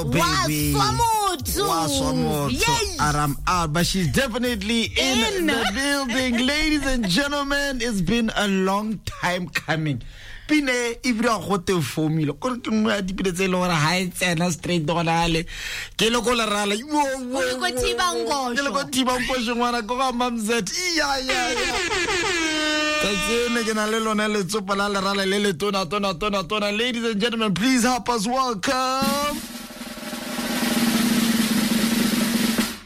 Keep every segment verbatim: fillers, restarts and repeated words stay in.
girl, baby. Wa swa motho. Wa swa motho. Yay. And I'm out, but she's definitely in, In. the building. Ladies and gentlemen, it's been a long time coming. Pine ebile go te formula kore ke nngwe ya dipine tse e leng gore ga e tsena straight gona le ke le ko lerala O le ko Thibankosho. ke le ko Thibankosho ngwana ko ga Mamzet iya iya iya tsatsi ene ke na le lone letsopa la lerala le le tona tona tona tona. Ladies and gentlemen, please help us welcome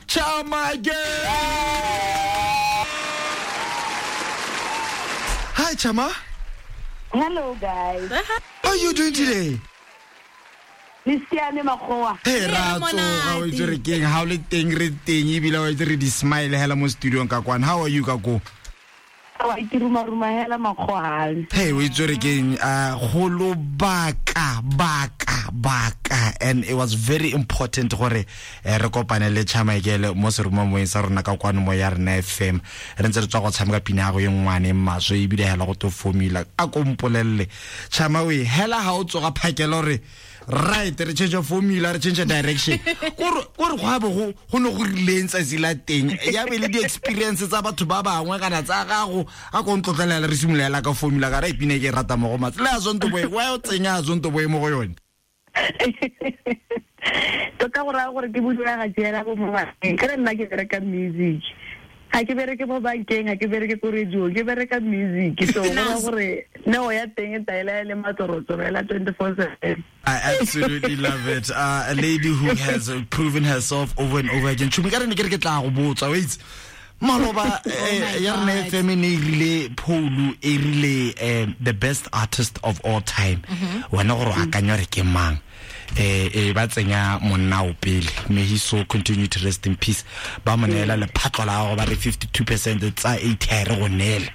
Charma Girl. Hi Chama. Hello guys. How are you doing today? Le siame makgowa. Hey, Re ra tsoga, monate. o itse re keng, ha o le teng re teng ebile o itse re di smile hela mo studio ka kwana. How are you ka ko? Wa ke ruma ruma hela makgowa hale. Hey, o itse re keng, uh, go lobaka baka baka, and it was very important gore eh, re kopane le Chama Girl mo seromamoeng sa rona ka kwano mo ya rena F M. Re ntse re tswa go tshameka pina ya go e ngwane maswe ebile hela go to formula. A ko mpolelle Chama we hela ha o tsoga phakela gore right re change formula, re change direction. Kore kore go a bo go go ne go rileng tsatsi la teng ya be le di experience tsa batho ba bangwe kana tsa gago. A ko ntlotlela re simolola ka formula ka re ipine ke rata mo go matse le a Zonto Boy wa o tsenya a Zonto Boy mo go yone. Tota go raya gore ke bodula ga tsela bo mo bankeng. Ka re nna ke bereka music. Ga ke bereke mo bankeng, ga ke bereke ko radio, ke bereka music. So go raya gore neo ya teng e taela le matsorotsoro ela twenty-four seven. I absolutely love it. Uh, a lady who has uh, proven herself over and over again. Tshumi, ka re ne ke re ke tla go botsa, wait. Maloba, eh, my ya rena God. F M e ne e rile Pholu, e rile, eh, the best artist of all time. Wena gore o akanya gore ke mang? Eh, eh, ba tsenya monna o pele. May he so continue to rest in peace. Ba mo neela lephatlo la gagwe ba re fifty-two percent tsa eight ha re go neele.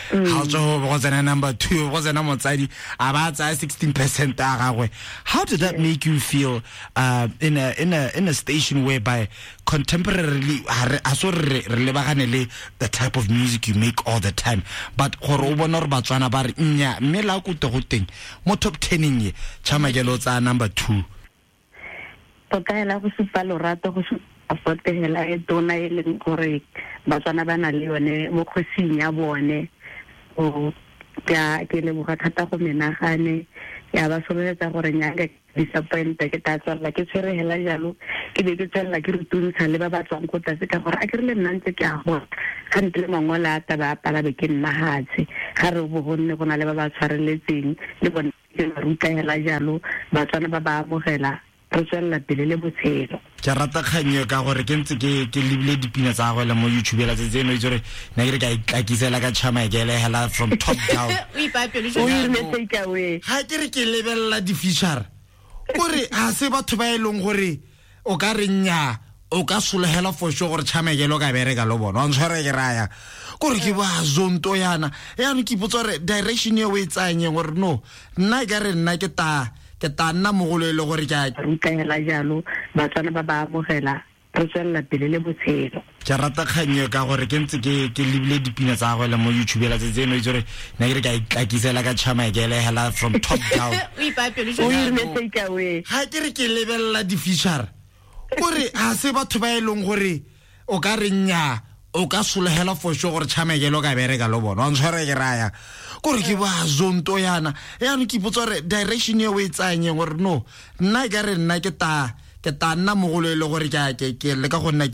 Ha o tswa go go tsena number two, go tsena motsadi, a ba tsaya sixteen percent a gagwe. How did that make you feel, uh, in a, in a, in a station whereby contemporarily, ha re, ha so re, re lebagane le the type of music you make all the time, but gore o bona gore Batswana ba re nya mme la ko te go teng mo top ten ye Chama Girl o tsaya number two. Tota hela go supa lorato, go supa fote hela e tona e leng gore Batswana ba na le yone mo kgosing ya bone. O ke a, ke leboga thata go menagane, ya ba sololetsa gore nnyaka disappoint ke tla tswelela ke tshwere hela jalo, ke be ke tswelela ke rutuntsha le ba ba tswang ko tlase ka gore a ke re le nna ntse ke a gola. Ga ntle le mangolo a taba a pala be ke nna hatshe. Ga re bo go nne go na le ba ba tshwareletseng le bone ke ba ruta hela jalo, Batswana ba ba amogela, re tswelela pele le botshelo. Ke rata kgang eo ka gore ke ntse ke, ke lebile dipina tsa gagwe le mo YouTube la tsatsi eno, itse gore nna ke re ka itlakisela ka Chama Girl hela from top down. O ipaya pelo O jwang? irile take away. Ga ke re ke lebelela di-feature, kore ga se batho ba e leng gore o ka re nnyaa, o ka solegela for sure gore Chama Girl o ka bereka le bona. Wa ntshwara ke raya. Kore ke ba Zonto yana. Yaanong ke ipotsa gore direction e o e tsayang eng, gore no, nna e ka re nna ke ta, ke ta nna mogolo e le gore ke a ruta hela jalo, Batswana ba ba amogela, re tswelela pele le botshelo. Ke rata kgang eo ka gore ke ntse ke, ke lebile dipina tsa gagwe le mo YouTube la tsatsi eno, itse gore nna ke re ka itlakisela ka Chama Girl hela from top down. O ipaya pelo O jwang? irile take away. Ga ke re ke lebelela di-feature, kore ga se batho ba e leng gore o ka re nnyaa, o ka solegela for sure gore Chama Girl o ka bereka le bona. Wa ntshwara ke raya. Kore ke ba Zonto yana. Yaanong ke ipotsa gore direction e o e tsayang eng, gore no, nna e ka re nna ke ta, ke ta nna mogolo e le gore ke a, ke, ke leka go nna ke